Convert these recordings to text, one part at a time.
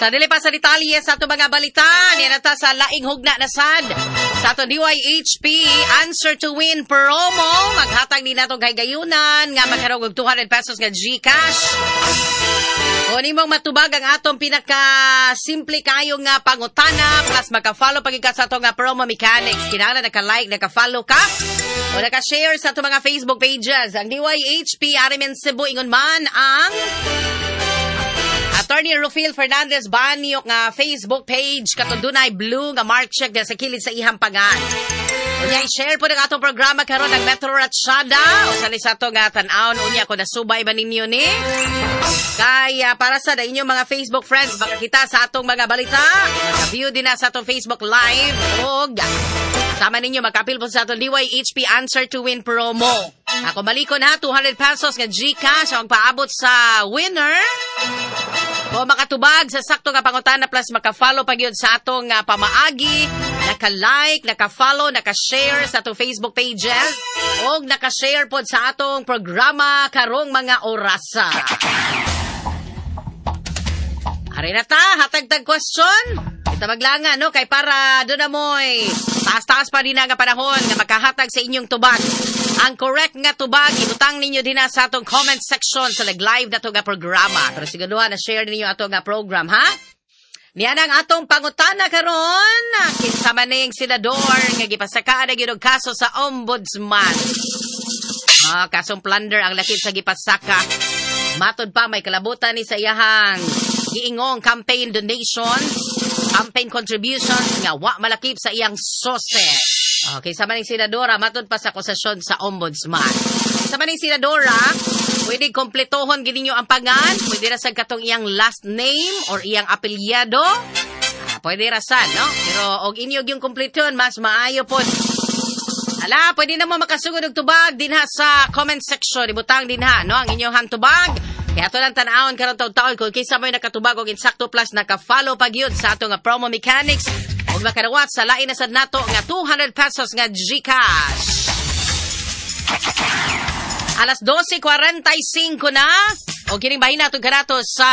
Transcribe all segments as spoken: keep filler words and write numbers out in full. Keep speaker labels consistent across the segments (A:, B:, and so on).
A: Sa dili pa sa detalye sa ato mga balita, niya na ta sa laing hugna na sad. Sa ato D Y H P Answer to Win promo, maghatag ni nato kay gayunan nga magkaroon og two hundred pesos nga GCash kung imong matubag ang atong pinaka simple kayo nga pangutana plus maka-follow pag ka sa atong nga promo mechanics. Kinahanglan naka-like, naka-follow ka o naka-share sa atong mga Facebook pages. Ang D Y H P R M N Cebu, ingon man ang Attorney Rufil Fernandez Banyok nga Facebook page, katong dunay blue nga mark check sa kilid sa ihang pangan. Unya, i-share po ng atong programa karon ng Metro Ratsyada. O sa sa ato nga tan-awon unya kung nasubay ba ninyo ni. Kaya para sa inyong mga Facebook friends makakita sa atong mga balita, maka-view din na sa atong Facebook Live ug sama ninyo makapil po sa atong D Y H P Answer to Win promo. Ako balikon ha, two hundred pesos nga GCash ang paabot sa winner o makatubag sa sakto nga pangutana plus maka-follow pag yun sa atong uh, pamaagi, naka-like, naka-follow, naka-share sa atong Facebook pages o naka-share pod sa atong programa karong mga orasa. Ari na ta, hatagtag question. Ita maglanga, no? Kay para doon na mo'y taas-taas pa din nga panahon nga makahatag sa inyong tubag. Ang correct nga tubag, ibutang ninyo din na sa atong comment section sa nag-live na to nga programa. Pero siguraduhan na share ninyo ato nga program, ha? Niya ang atong pangutana karon, kinsa man ning senador nga gipasakaan na gyud og kaso sa ombudsman? Ah, kasong plunder ang lakip sa gipasaka. Matod pa, may kalabutan ni sa iyahang giingong campaign donations, campaign contributions nga wa malakip sa iyang S O S E. Okay, sa maning senadora, matod pa sa akusasyon sa ombudsman. Sa maning senadora, pwede kompletohon gid ninyo ang pangan, pwede ra sad katong iyang last name or iyang apelyido. Ah, pwede ra sad, no? Pero og inyo yung kompleton, mas maayo pod. Ala, pwede na mo makasugod og tubag dinha sa comment section. Ibutang dinha, no, ang inyong tubag. Kaya ato lang tan-awon karon taon-taon kung kinsa mo'y nakatubag og insakto plus naka-follow pag yun sa atong nga promo mechanics ug makadawat sa lain na sad nato nga two hundred pesos nga GCash. Alas dose kwarenta y singko na. O kining bahin nato kanato sa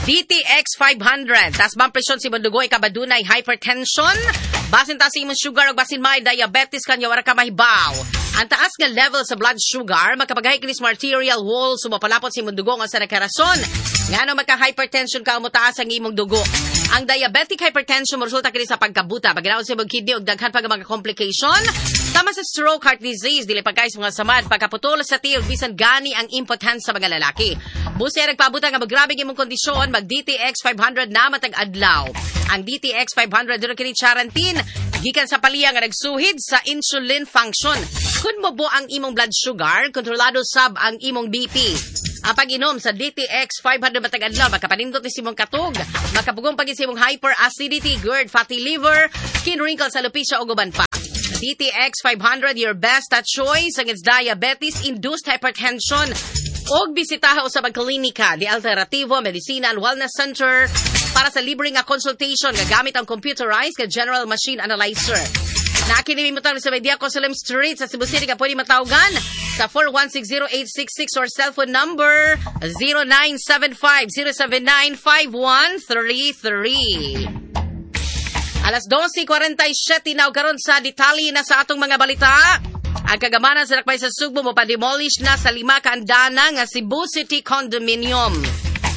A: D T X five hundred. Taas bang presyon sa imong dugo, ikaw ba dunay hypertension? Basin taas imong sugar o basin may diabetes kanya wara ka mahibaw. Ang taas nga level sa blood sugar makapagahi kini sa arterial wall, sumapalapot sa imong dugo nga sa nakarason. Ngano maka-hypertension ka, mutaas ang imong dugo. Ang diabetic hypertension moresulta kini sa pagkabuta, paginaon sa imong kidney ug daghan pa nga mga complication. Tama sa stroke, heart disease, dili pagkay sa mga samad, pagkaputol sa tiil, bisan gani ang impotence sa mga lalaki. Busi nagpabuta nga magrabe imong kondisyon, mag D T X five hundred na matag adlaw. Ang D T X five hundred duro kini charantin gikan sa paliya nga nagsuhid sa insulin function. Kun mo ang imong blood sugar, kontrolado sab ang imong B P. Ang pag-inom sa D T X five hundred matag adlaw makapanindot ni imong katog, makapugong pag imong hyperacidity, GERD, fatty liver, skin wrinkles, alopecia ug uban pa. D T X five hundred, your best choice against diabetes-induced hypertension. Og bisitaha usab ang klinika di Alternativo Medicina and Wellness Center para sa libre nga consultation nga gamit ang computerized nga General Machine Analyzer. Nakini mo sa Media Cosalim Street sa Cebu City ka pwede matawagan sa four one six zero eight six six or cellphone number zero nine seven five, zero seven nine, five one three three. Alas dose kwarenta y siyete na karon sa detalye na sa atong mga balita. Ang kagamanan sa Dakbay sa Sugbo mo pa-demolish na sa lima ka andana nga Cebu City Condominium.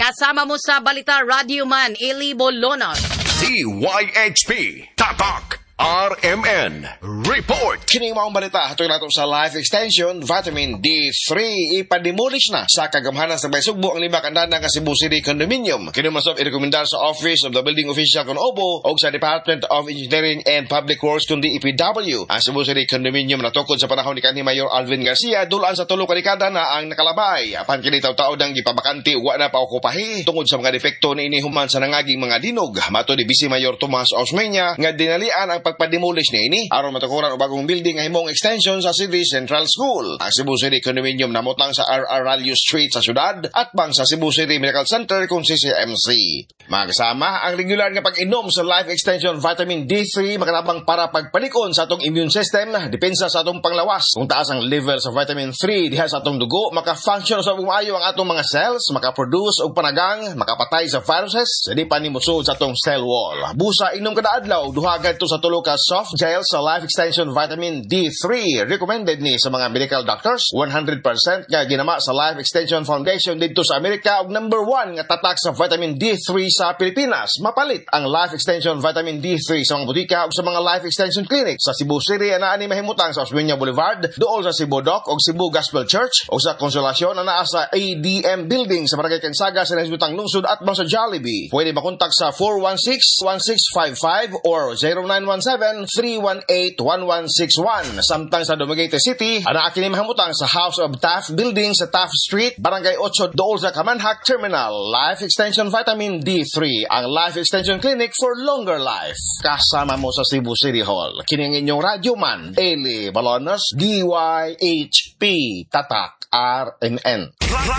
A: Kasama mo sa balita, Radio Man Eli Bolonos.
B: D Y H P Tatak R M N Report.
C: Kining maong balita hatuy nato sa Life Extension Vitamin D three. Ipademolish na sa kagamhanan sa Dakbay Sugbo ang lima kandana nga Cebu City Condominium. Kini masop irekomendar sa Office of the Building Official kon OBO o sa Department of Engineering and Public Works kun D E P W. Ang Cebu City Condominium natukod sa panahon ni kanhi Mayor Alvin Garcia, dulaan sa tulo ka dekada na ang nakalabay. Apan kini taw-taw nang gipabakante, wa na paokupahi tungod sa mga defekto niini human sa nangaging mga dinog. Mato ni Vice Mayor Tomas Osmeña nga dinalian ang pagpa-demolish niini aron matukuran og bagong building nga himong extension sa City Central School. Ang Cebu City Condominium namutang sa R R. Ralio Street sa syudad at bang sa Cebu City Medical Center kung C C M C. Mga kasama, ang regular nga pag-inom sa Life Extension Vitamin D three makatabang para pagpalikon sa atong immune system, depensa sa atong panglawas. Kung taas ang level sa vitamin three diha sa atong dugo, maka-function sa maayo ang atong mga cells, maka-produce og panagang, makapatay sa viruses, sa di pa ni mosud sa atong cell wall. Busa inom kada adlaw, duha ngadto sa tulo ka soft gel sa Life Extension Vitamin D three. Recommended ni sa mga medical doctors, one hundred percent nga ginama sa Life Extension Foundation didto sa Amerika ug number one nga tatak sa vitamin D three sa Pilipinas. Mapalit ang Life Extension Vitamin D three sa mga botika ug sa mga Life Extension Clinic sa Cebu City. Anaa ni mahimutang sa Osmeña Boulevard, duol sa Cebu Doc ug Cebu Gospel Church, o sa Consolacion anaa sa A D M Building sa Barangay Cansaga sa Nasibutang Lungsod at sa Jollibee. Pwede makontak sa four one six, one six five five or zero nine one seven, three one eight, one one six one. Samtang sa Dumaguete City, anaa kini mahimutang sa House of Taft Building sa Taft Street, Barangay eight, duol sa Camanjac Terminal. Life Extension Vitamin D three, ang Life Extension Clinic for longer life. Kasama mo sa Cebu City Hall. Kini ang inyong radyo man, Eli Balonos, D Y H P, Tatak, R M N.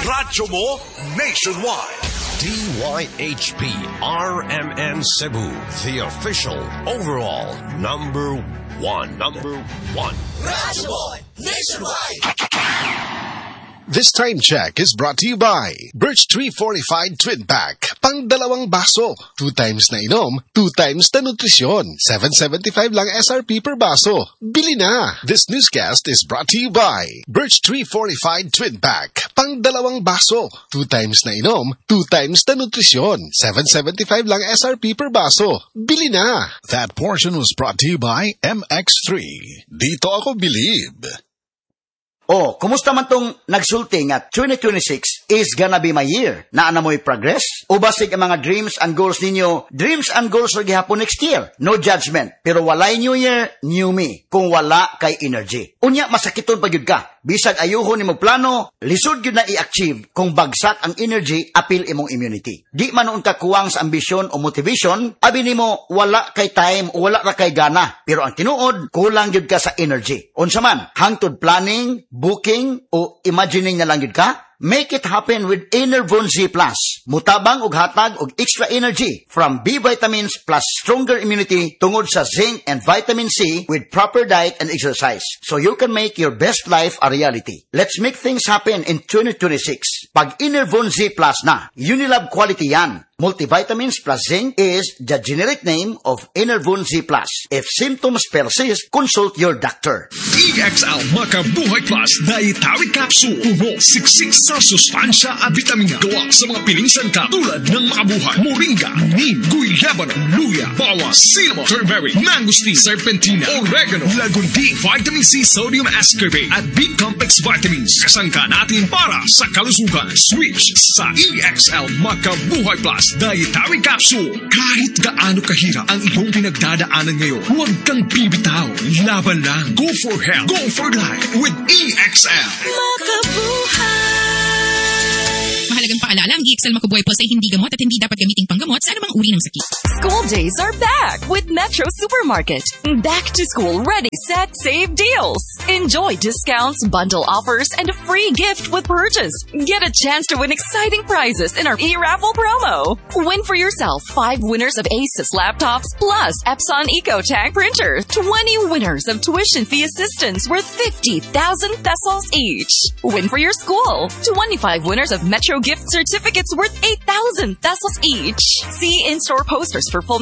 B: Radyo mo nationwide.
D: D Y H P R M N Cebu, the official overall number one. Number one.
E: Radyo mo nationwide.
F: This time check is brought to you by Birch Tree Fortified Twin Pack. Pang dalawang baso. Two times na inom, two times na nutrisyon. seven seventy-five lang S R P per baso. Bili na! This newscast is brought to you by Birch Tree Fortified Twin Pack. Pang dalawang baso. Two times na inom, two times na nutrisyon. seven seventy-five lang S R P per baso. Bili na! That portion was brought to you by M X three. Dito ako believe.
G: Oh, kumusta man tong nagsulti nga twenty twenty-six is gonna be my year? Naa na mo'y progress? O basig ang mga dreams and goals ninyo, dreams and goals ra gihapon next year? No judgment, pero walay new year, new me. Kung wala kay energy. Unya masakiton pa gyud ka. Bisag ayuhon nimo plano, lisod gyud na i-achieve kung bagsak ang energy apil imong immunity. Di man nuon ka kuwang sa ambisyon o motivation, abi nimo wala kay time o wala ra kay gana. Pero ang tinuod, kulang gyud ka sa energy. Unsa man, hangtod planning, booking o imagining na lang gyud ka? Make it happen with Enervon Z plus. Mutabang og hatag og extra energy from B vitamins plus stronger immunity tungod sa zinc and vitamin C with proper diet and exercise. So you can make your best life a reality. Let's make things happen in twenty twenty-six. Pag Enervon Z Plus na, Unilab quality yan. Multivitamins plus zinc is the generic name of Enervon Z plus. If symptoms persist, consult your doctor.
H: E X L Makabuhay Plus Dietary Capsule. Puno, siksik sa sustansya at vitamina. Gawa sa mga piling sangkap tulad ng makabuhay, moringa, neem, guyabano, luya, bawang, cinnamon, turmeric, mangosteen, serpentina, oregano, lagundi, vitamin C, sodium ascorbate, at B-complex vitamins. Kasangka natin para sa kalusugan. Switch sa E X L Makabuhay Plus Dietary Capsule. Kahit gaano kahirap ang iyong pinagdadaanan ngayon, huwag kang bibitaw. Laban lang. Go for health. Go for life with E X L.
I: Mahalagang paalala, ang E X L Makubuhay Plus ay hindi gamot at hindi dapat gamiting panggamot sa anumang uri ng sakit.
J: School days are back with Metro Supermarket. Back to school ready, set, save deals. Enjoy discounts, bundle offers, and a free gift with purchase. Get a chance to win exciting prizes in our e-raffle promo. Win for yourself five winners of Asus laptops plus Epson EcoTank printer. twenty winners of tuition fee assistance worth fifty thousand pesos each. Win for your school. twenty-five winners of Metro gift certificates worth eight thousand pesos each. See in-store posters for full